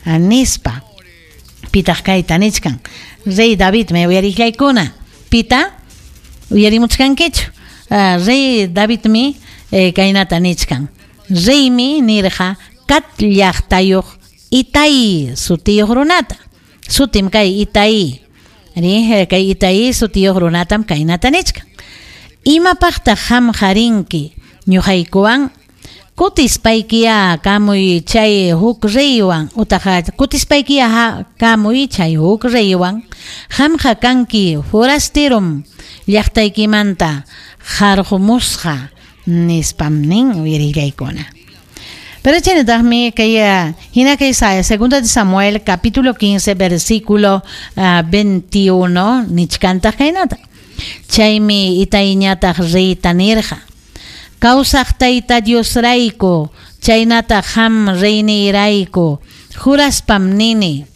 Nispa. Pitaq kayta nichkan? Rey Davidmi uyariqllaykuna. Pita? Uyarimuchkankichu? Rey Davidmi kaynata nichkan. Reymi nirqa Gat llaqtayuq Itai sutiyuq runata. Sutim kay Itai. Ri, kay Itai sutiyuq runatam kaynata nichkan. Imapaqtaq qamqa rinki ñuqaykuwan? Kutispaykiya kamuy chay huk reywan utaq kutispaykiya kamuy chay huk reywan. Qamqa kanki forasterom llaqtaykimanta qarqumusqa, nispam nin uyarillaykuna. Pero chaynataqmi kay hina kay segunda de Samuel capítulo 15 versículo 21 nichkantaq kaynata. Chaymi Itaiñataq reyta nirqa: Kawsaq Tayta Diosrayku chaynataq qam reyniyrayku juraspam nini,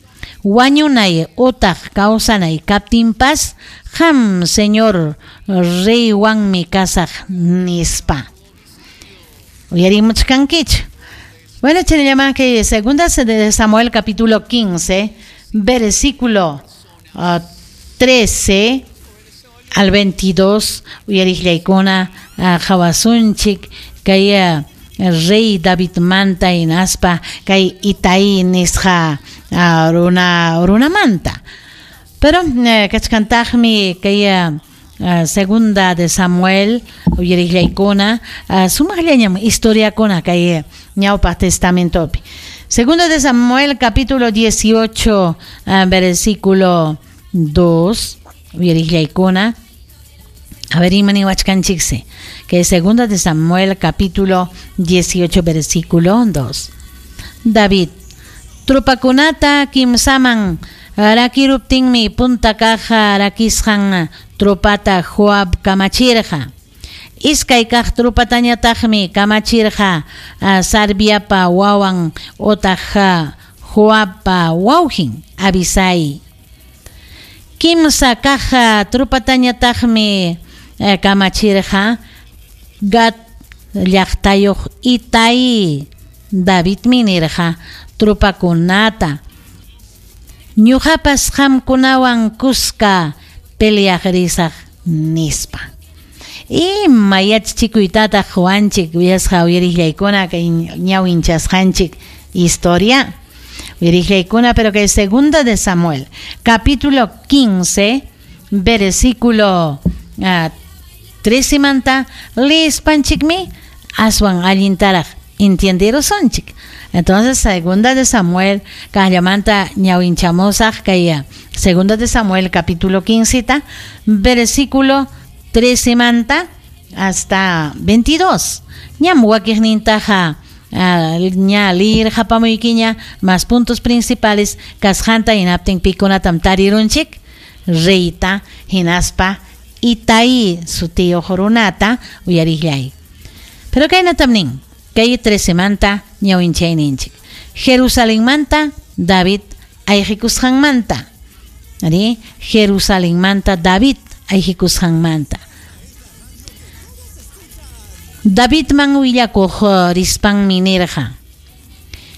wañunay utaq kawsanay kaptinpas qam señor reywanmi kasaq, nispa. Uyarimuchkankichu? Bueno, chayllaman kay segunda de Samuel capítulo 15 versículo 13 al 22 uyariqllaykuna qawasunchik kay rey Davidmanta hinaspa kay Itai nisqa runamanta. Pero kachkantaqmi kay segunda de Samuel uyariqllaykuna sumaqllañam historiakuna kay ñawpaq testamentopi. Segunda de Samuel capítulo 18 versículo 2 uyariqllaykuna. A ver, imani wachkanchikse. Que segunda de Samuel capítulo 18 versículo 2. David tropakunata kimsaman rakiruptinmi punta kaq rakisqan tropata Joab kamachirqa. Iskay kaq tropatañataqmi kamachirqa Sarviapa wawan otaq Joabpa wawqin Abisai. Kimsa kaq tropatañataqmi kamachirqa Gat llaqtayuq Itai. Davidmi nirqa tropakunata: Ñuqapas qamkunawan kuska peleaq risaq, nispa. Ima yachachikuytataq quwanchik uyasqa uyariqllaykuna kay ñawinchasqanchik historia? Uyariqllaykuna, pero kay segunda de Samuel capítulo 15 versículo 13 manta leespanchikmi aswan allintaraq entienderusunchik. Entonces, segunda de Samuel, kaqllamanta ñawinchamusaq kay segunda de Samuel capítulo 15 versículo 13 manta hasta 22. Ñam wakiqnintaqa ña liyirqapamuykiña más puntos principales kasqanta hinaptin pikunatam tarirunchik reyta hinaspa Itai sutiyuq runata uyariqllay. Pero kaynatam nin kay 13 manta ñawinchayninchik. Jerusalenmanta David ayqikusqanmanta. Ari, Jerusalenmanta David ayqikusqanmanta. Davidman willakuq rispanmi nirqa: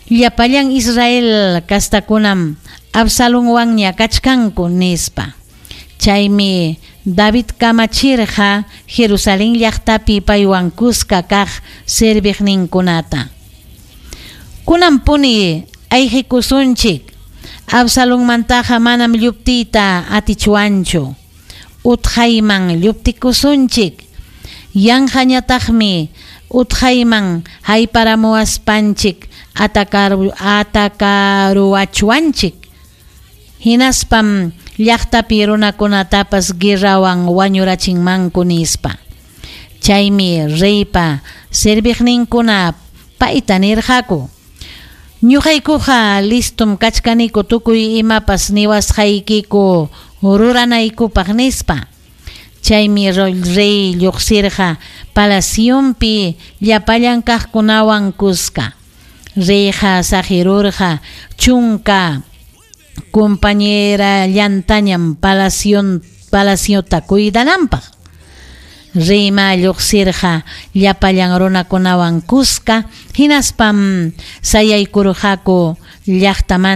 Llapallan Israel kastakunam Absalonwanña kachkanku, nispa. Chaymi David kamachirqa Jerusalén llaqtapi paywan kuska kaq serviqninkunata: Kunanpuni ayqikusunchik. Absalonmantaqa manam lluptiyta atichwanchu. Utqayman lluptikusunchik. Yanqañataqmi utqayman hayparamuwaspanchik atakaruwachwanchik. Hinaspam llaqtapi runakunatapas guerrawan wañurachinmanku, nispa. Chaymi reypa serviqninkuna payta nirqaku: Ñuqaykuqa listom kachkaniku tukuy imapas niwasqaykiku ruranaykupaq, nispa. Chaymi rey lluqsirqa palacionpi llapallan kaqkunawan kuska. Reyqa saqirurqa chunka compañerallantañam palaciota cuidananpaq. Reyma lluqsirqa llapallan runakunawan kuska hinaspam sayaykurqaku llaqtamanta.